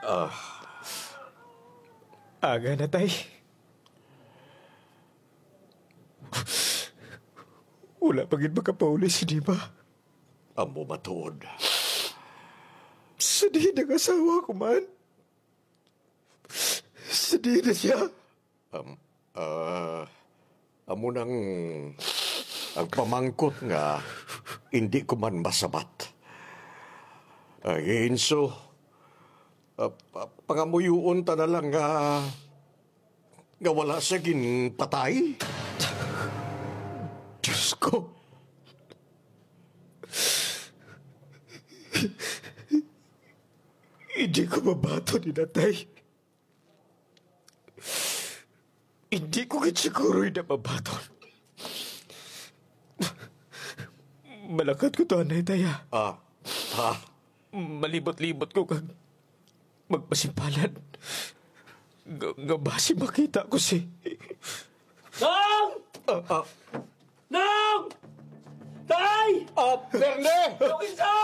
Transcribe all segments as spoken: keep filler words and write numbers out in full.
Ah. Aga na, tay. Wala pa gid makapauli si Dima. Amo matuod. Sa diin ang asawa ko man? Sa diin na siya? Um, ah, amo nang ang pamangkot nga hindi ko man masabat. Ay, Enzo, ah, pa- pangamuyoon ta na lang nga, nga wala siya ginpatay. Diyos ko. Hindi ko mabaton ni Natay. Hindi ko gid siguro na mabaton. Malakat ko to, anay, tay, ah. Ah, ah. Malibot-libot ko kag magpasimpalan. Nga, nga basi makita ko si Nong! Ah, ah. Nong! Tay! Ah, Berne! Nong Enzo!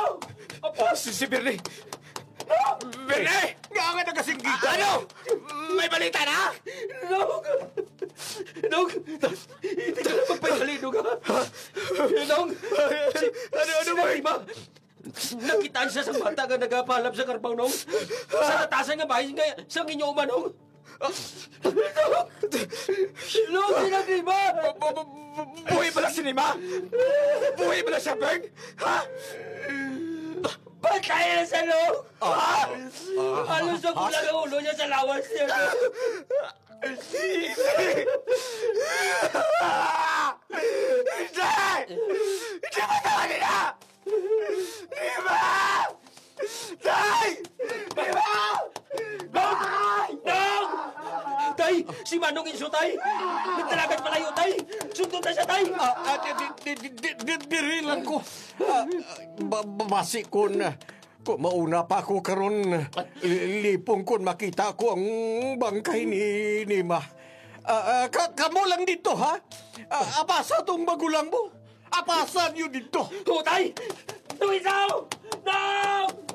Ah, si, si Berne! Nong! Berne! Nga nga nagasinggit ka? Ano? May balita na? Nong! Nong! Hindi ka na magpahibali, Nong, ha? Nong! Si, ano, ano, si Boy? Nakitaan siya sa bata nga nagapalap sa karbaw, Nong. Sa natasan nga bahin nga sa inyo umanong. Nong! Nong! Nong! Bu- bu- bu- bu- Buhi bala si Nima? Buhi bala siya, Beng? Ha? Patay na siya, Nong! Ah, ha? Ah, ah, Halos ang ah, kulang ang ulo niya sa lawas niya, Nong! Hindi! Hindi! Hindi mo tawagin na! Di ba? Tay! Di ba? Tay! Tay! Tay! Si Manong Enzo, tay! Nagdalagan palayo, tay! Sundon na siya, tay! Ah, ah, di, di, di, di, di, diri lang ko. Ah, ah, ba- ba- basi kun, ah, kun mauna pa ako karon, li- lipong kun makita ko ang bangkay ni Nima. Ah, ah, ka- kamo lang dito, ha? Ah, apasa tong magulang mo. Apasa niyo dito. Hutay! Luisaw! No!